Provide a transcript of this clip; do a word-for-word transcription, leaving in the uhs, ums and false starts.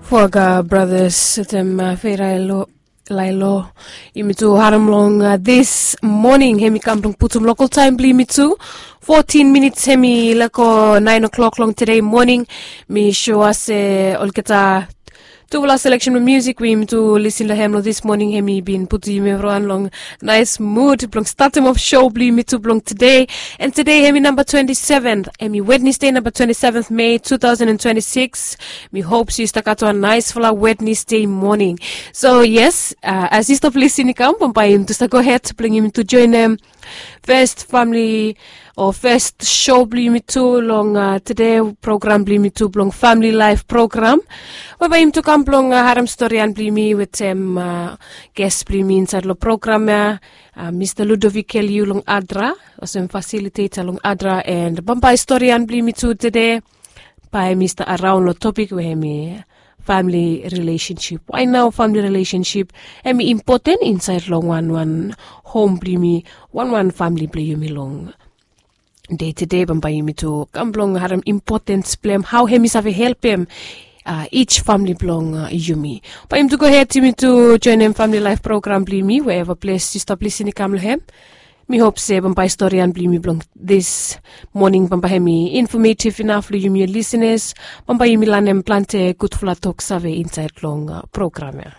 Poaga brothers wetem feira lailo. Yumi tu harim long this morning hemi kam blong putum lokal taim blong yumi tu. Fotin minits hemi leko nain o'clock long tede moning. Mi sua se olgeta tufala seleksen blong musik we yumi tu lisin long hem long this moning hemi bin putum yumi evriwan long nais mud blong statim of show blong yumi tu blong tede. And tede hemi namba twenti seven, hemi wednesde namba twenti seven mei two thousand and twenti six. Mi hop se yu stap gat wan naisfala wednesde moning. So yes, as yu stap lisin i kam bambae yumi tu stap gohed blong yumi tu joinim fes famili o fes show blong yumi tu long tede program blong yumi tu blong famili laif program. Bambae yumi tu kam blong harim storian blong yumi wetem ges blong yumi insaed long program ya, mista ludovic keliu long adra olsem fasiliteta long adra. And bambae storian blong yumi tu tede bae mista araon long topik we hemi famili rilesensip. Wae nao famili rilesensip hemi impoten insaed long wanwan hom blong yumi, wanwan famili blong yumi long dei tede bambae yumi tu kam blong harim impotens blong hem hao hemi save helpem ij famili blong yumi. Bae yumi tu gohed yumi tu joinim famili laif program blong yumi weeva ples yu stap lisin i kam long hem. Mi hop se bambae storian blong yumi blong this moning bambae hemi infometiv inaf long yumi lisenas. Bambae yumi lanem plante gudfala toksave insaed long program ya.